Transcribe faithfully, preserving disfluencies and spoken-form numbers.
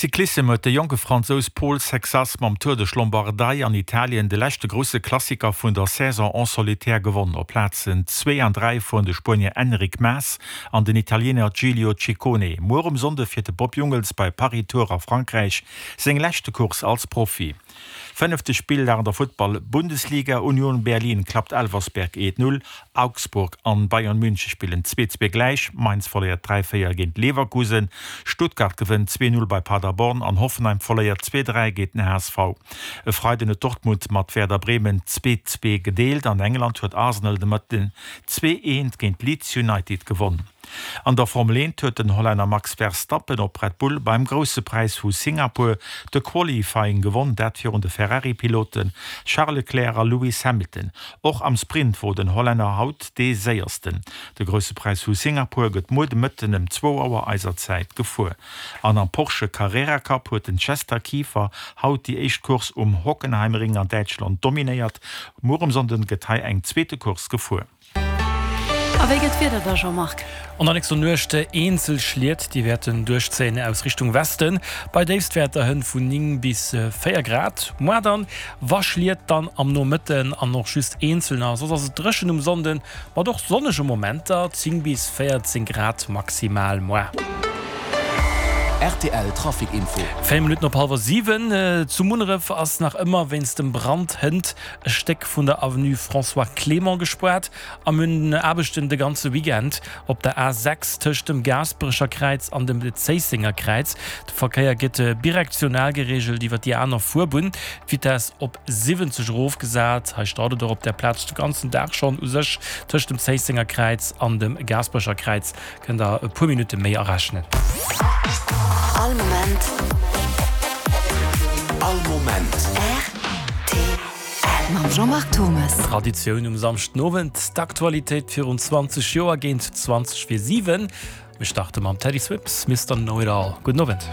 Cyclissem huet de jonke Fransous Paul Sexas mam Tour de Lombardei an Italien de leschte grousse Klassiker vun der Saison en solitaire gewonn. Op Plazen zwee an dräi fueren de Spuenier Enric Mas an den Italiener Giulio Ciccone. Muer um Sonnde fiert de Bob Jungels bei Paris-Tours a Frankräich seng leschte Course als Profi. Fënnefte Spilldag an der Futtball-Bundesliga, Union Berlin klappt Elversberg eent, null, Augsburg an Bayern München spillen zwee, zwee gläich, Mainz verléiert dräi, véier géint Leverkusen, Stuttgart gewënnt zwee, null bei Paderborn an Hoffenheim verléiert zwee, dräi géint den H S V. E Freiden huet Dortmund mat Werder Bremen zwee, zwee gedeelt. An England huet Arsenal de Mëtten zwee, eent géint Leeds United gewonn. An der Formel eent huet den Hollänner Max Verstappen op Red Bull beim Grousse Präis vu Singapur de Qualifying gewonn, dat virun de Ferrari-Pilote Charles Leclerc a Lewis Hamilton. Och am Sprint wor den Hollänner haut dee Séiersten. De Grousse Präis vu Singapur gëtt muer de Mëtten ëm zwou Auer eiser Zäit gefuer. An am Porsche Carrera Cup huet den Chester Kieffer haut déi éischt Course um Hockenheimring an Däitschland dominéiert. Muer um Sonnden gëtt hei eng zweete Course gefuer. A wéi gëtt d'Wieder da, Jean-Marc? An der nächster Nuecht eenzel Schliet, déi wäerten duerchzéien aus Richtung Westen, bei Déifstwäerter hënt vun néng bis véier Grad. Muer dann, wa Schliet, dann am Nomëtten an och just eenzelner, soss ass et dréchen um Sonnden, mat och sonnege Momenter, zéng bis véierzéng Grad maximal muer. R T L Trafic Info. Véier Minutten op hallwer siwen. Zu Munneref ass nach ëmmer wéinst dem Brand hënt e Stéck vun der Avenue François Clément gespaart a mir hunn Aarbechten de ganze Weekend op der A sechs tëscht dem Gaasperecher Kräiz an dem Zéissenger Kräiz. De Verkéier gëtt birektional gereegelt iwwer déi aner Fuerbunn, d'Vitess op siwwenzeg erofgesat. Hei staut et och op der Plaz de ganzen Dag schonn u sech tëscht dem Zéissenger Kräiz an dem Gaasperecher Kräiz. Kënnt der e puer Minutte méi arechnen. All Moment. All Moment. R T L mam Jean-Marc Thomas. Traditioun um Samschdenowend, d'Aktualitéit virun zwanzeg Joer géint zwanzeg vir siwen. Mir starte mam Teddy Swims, Mister Know It All. Gudden Owend.